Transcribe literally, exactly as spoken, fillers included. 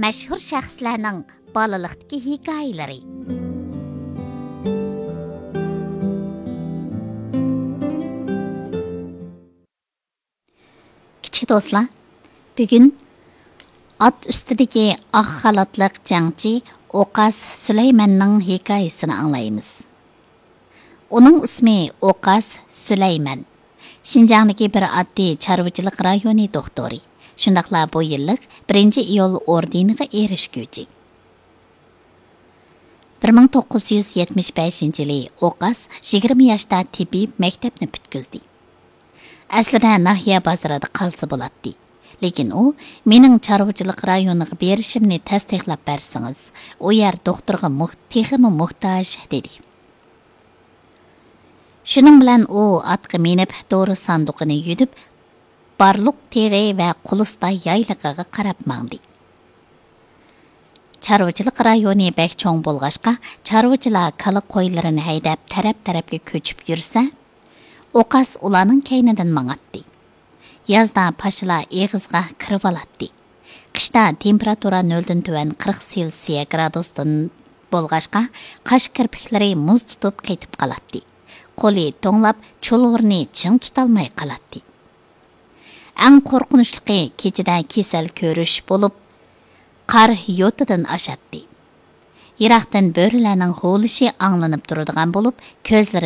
مەشھۇر شەخسلەرنىڭ بالىلىقتىكى ھېكايىلىرى. كىچىك دوستلار، بۈگۈن ئات ئۈستىدىكى ئاق خالاتلىق جەڭچى ئوقاس سۈلەيمەننىڭ ھېكايىسىنى ئاڭلايمىز. ئۇنىڭ ئىسمى ئوقاس سۈلەيمەن. شىنجاڭدىكى بىر ئاددىي چارۋىچىلىق رايونى دوختۇرى. شۇنداقلا بۇ يىللىق بىرىنچى ئىيۇل ئوردېنىغا ئېرىشكۈچى. بىر مىڭ توققۇز يۈز يەتمىش بەشىنچى يىلى ئوقاس يىگىرمە ياشتا تېببىي مەكتەپنى پۈتكۈزدى. ئەسلىدە ناھىيە بازىرىدا قالسا بولاتتى. لېكىن ئۇ، «مېنىڭ چارۋىچىلىق رايونىغا بېرىشىمنى تەستىقلاپ بەرسىڭىز، ئۇ يەر دوختۇرغا موھ-، تېخىمۇ موھتاج» دېدى. شۇنىڭ بىلەن ئۇ ئاتقا مىنىپ، دورا ساندۇقىنى يۈدۈپ، بارلۇق تېغى ۋە قۇلۇستا يايلىقىغا قاراپ ماڭدى. چارۋىچىلىق رايونى بەك چوڭ بولغاچقا، چارۋىچىلار كالا قويلىرىنى ھەيدەپ، تەرەپ-تەرەپكە كۆچۈپ يۈرسە، ئوقاس ئۇلارنىڭ كەينىدىن ماڭاتتى. يازدا پاشىلار ئېغىزغا كىرىۋالاتتى. قىشتا تېمپېراتۇرا نۆلدىن تۆۋەن قىرىق سېلسىيە گرادۇستىن بولغاچقا، قاش كىرپىكلىرى مۇز تۇتۇپ قېتىپ قالاتتى. قولى توڭلاپ، چۇلۋۇرنى چىڭ تۇتالماي قالاتتى. ئەڭ قورقۇنچلۇقى، كېچىدە كېسەل كۆرۈش بولۇپ، قار يوتىدىن ئاشاتتى. يىراقتىن بۆرىلەرنىڭ ھۇۋلىشى ئاڭلىنىپ تۇرىدىغان بولۇپ، كۆزلىرى